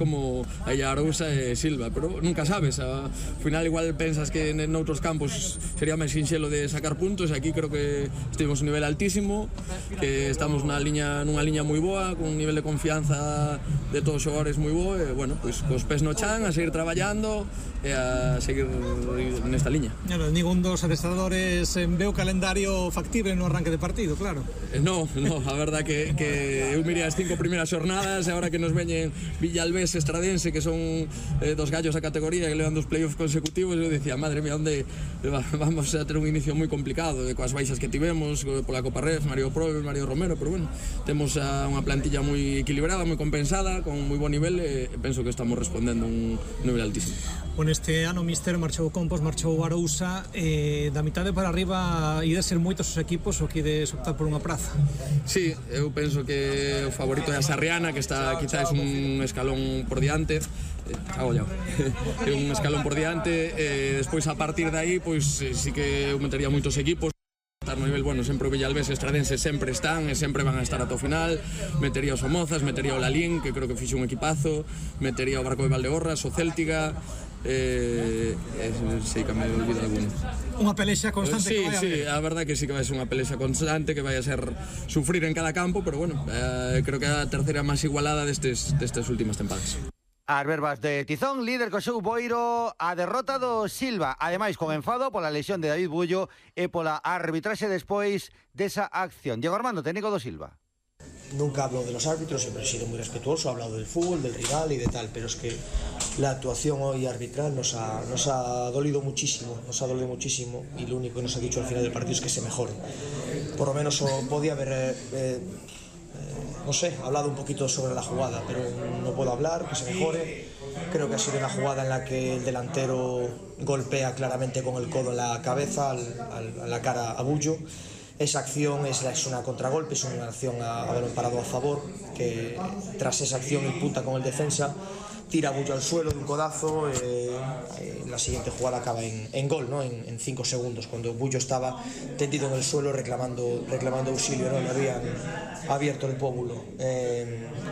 como a Arousa e Silva, pero nunca sabes, ao final igual pensas que noutros campos sería máis sinxelo de sacar puntos, e aquí creo que estivemos a un nivel altísimo, que estamos nunha liña moi boa, con un nivel de confianza de todos os xogadores moi bo, e bueno, pois cos pés no chan, a seguir traballando e a seguir nesta liña. Ningún dos adestradores ve o calendario factible no arranque de partido, claro. No, a verdad que eu mirei as 5 primeiras xornadas, e agora que nos veñen Villalbés, Estradense, que son dos gallos a categoría que levan dos playoffs consecutivos, eu dicía, madre mía, onde vamos a ter un inicio moi complicado, coas baixas que tivemos pola Copa Ref, Mario Probe, Mario Romero, pero bueno, temos unha plantilla moi equilibrada, moi compensada, con moi bon nivel, e penso que estamos respondendo a un nivel altísimo. Este ano, Mister, marchou Compos, marchou Arousa, da mitade para arriba ide ser moitos os equipos ou que ides optar por unha praza? Sí, eu penso que o favorito é a Sarriana, que está quizás un escalón por diante, é un escalón por diante, e despois a partir de aí, pois sí que eu metería moitos equipos. Estar no nivel, bueno, sempre o Villalbés e Estradense sempre están e sempre van a estar ata o final. Metería o Somozas, metería o Lalín, que creo que fixe un equipazo, metería o Barco de Valdeorras, o Céltiga, sei que me olvido alguno. Unha pelexa constante que vai a haber. Sí, a verdad que sí que vai ser unha pelexa constante, que vai a ser sufrir en cada campo, pero bueno, creo que é a terceira máis igualada destas últimas tempadas. As verbas de Tizón, líder co seu Boiro, a derrota do Silva, ademais con enfado pola lesión de David Bullo e pola arbitraxe despois desa acción. Diego Armando, técnico do Silva. Nunca hablo de los árbitros, siempre he sido muy respetuoso, he hablado del fútbol, del rival y de tal, pero es que la actuación hoy arbitral nos ha dolido muchísimo, y lo único que nos ha dicho al final del partido es que se mejore. Por lo menos podía haber... no sé, hablado un poquito sobre la jugada, pero no puedo hablar, que se mejore. Creo que ha sido una jugada en la que el delantero golpea claramente con el codo en la cabeza, a la cara a Bullo. Esa acción es una contragolpe, es una acción a balón parado a favor, que tras esa acción imputa con el defensa, tira a Bullo al suelo de un codazo, la siguiente jugada acaba en gol, ¿no? En 5 segundos, cuando Bullo estaba tendido en el suelo reclamando auxilio, ¿no? Le habían abierto el pómulo,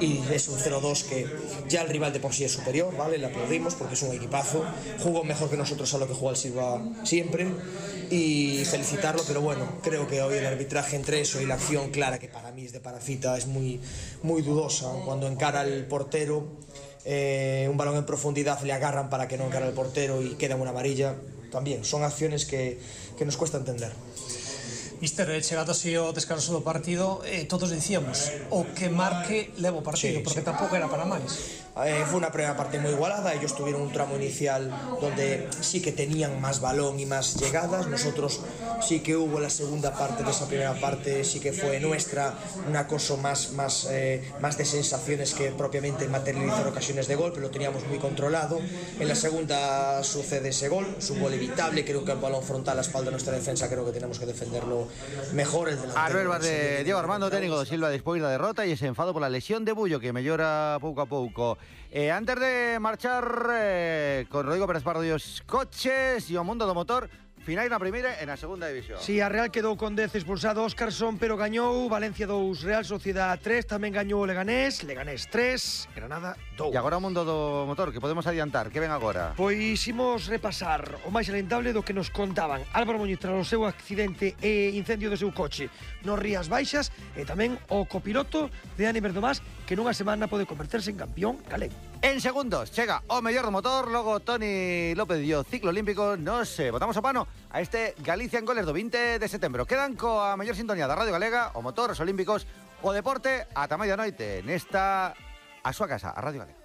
y es un 0-2 que ya el rival de por sí es superior, ¿vale? Le aplaudimos porque es un equipazo, jugó mejor que nosotros a lo que juega el Silva siempre, y felicitarlo, pero bueno, creo que hoy el arbitraje entre eso y la acción clara, que para mí es de Parafita, es muy dudosa, cuando encara el portero, un balón en profundidad le agarran para que no encare el portero y queda una amarilla. También son acciones que nos cuesta entender. Mister, chegado así o descanso do partido, todos dicíamos o que marque leva o partido, porque tampouco era para máis. Fue una primera parte muy igualada, ellos tuvieron un tramo inicial donde sí que tenían más balón y más llegadas, nosotros sí que hubo la segunda parte de esa primera parte, sí que fue nuestra, una cosa más de sensaciones que propiamente materializar ocasiones de gol, pero lo teníamos muy controlado. En la segunda sucede ese gol, es un gol evitable, creo que el balón frontal a la espalda de nuestra defensa, creo que tenemos que defenderlo mejor. As verbas de Diego Armando, técnico do Silva despois da derrota e ese enfado pola lesión de Bullo, que mellora pouco a pouco. Antes de marchar con Rodrigo Pérez Pardo e os coches e o mundo do motor, finais na primeira e na segunda división. Si, a Real quedou con 10 expulsado Óscarson, pero gañou Valencia 2, Real Sociedad 3, tamén gañou Leganés 3, Granada 2. E agora o mundo do motor, que podemos adiantar, que ven agora? Pois imos repasar o máis lamentable do que nos contaban Álvaro Muñiz tras o seu accidente e incendio do seu coche nos Rías Baixas, e tamén o copiloto de Dani Berdomás, que nunha semana pode converterse en campeón galego. En segundos chega o mellor do motor, logo Toni López dio ciclo olímpico, nos botamos o pano a este Galicia en Goles do 20 de setembro. Quedan coa mellor sintonía da Radio Galega, o motor, os olímpicos, o deporte, ata medianoite nesta a súa casa, a Radio Galega.